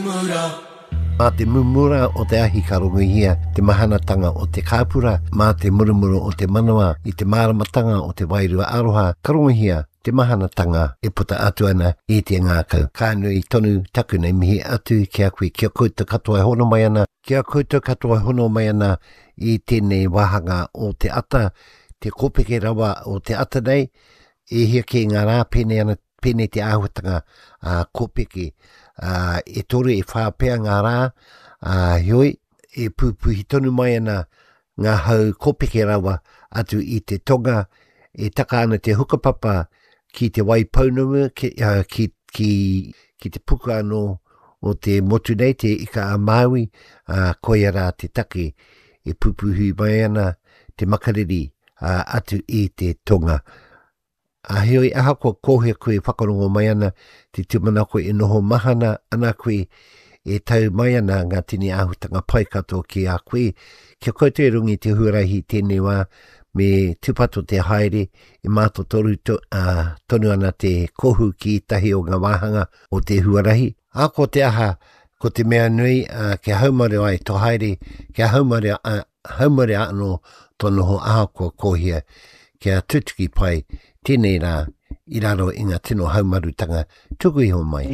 mumura. Mā te mumura o te ahi ka rongohia te mahanatanga o te kāpura, mā te murumuru o te manawa i te māramatanga o te wairua aroha ka rongohia te mahanatanga e puta atu ana i te ngākau. Ka nui tonu taku nei mihi atu ki a koe, ki a koutou katoa e hono mai ana, ki a koutou katoa e hono mai ana i tēnei wāhanga o te ata, te kōpeke rawa o te ata nei, e hia kē ngā rā pēnei ana pēnei te āhuatanga ā, kōpeke, ā, e toru e whā pea ngā rā, ā, heoi, e pūpuhi tonu mai ana ngā hau kōpeke rawa atu i te tonga, e taka ana te hukapapa ki te Waipounamu, ki, uh, ki, ki, ki te puku anō o te motu nei, te Ika a Māui, ā, koia rā te take e pūpuhi mai ana te makariri ā, atu i te tonga. Ā, heoi, ahakoa kōhea koe e whakarongo mai ana, te tūmanako e noho mahana ana koe, e tau mai ana ngā tini āhutanga pai katoa ki a koe, kia koutou e runga i te huarahi i tēnei wā, me tūpato te haere, e mātotoru to, ā, tonu ana te kohu ki ētahi o ngā wāhanga o te huarahi. Ahakoa te aha, ko te mea nui, ā, kia haumaru ai tō haere, kia haumaru, ā, haumaru anō tō noho ahakoa kōhia, kia tutuki pai tēnei rā i raro i ngā tino haumarutanga tuku iho mai.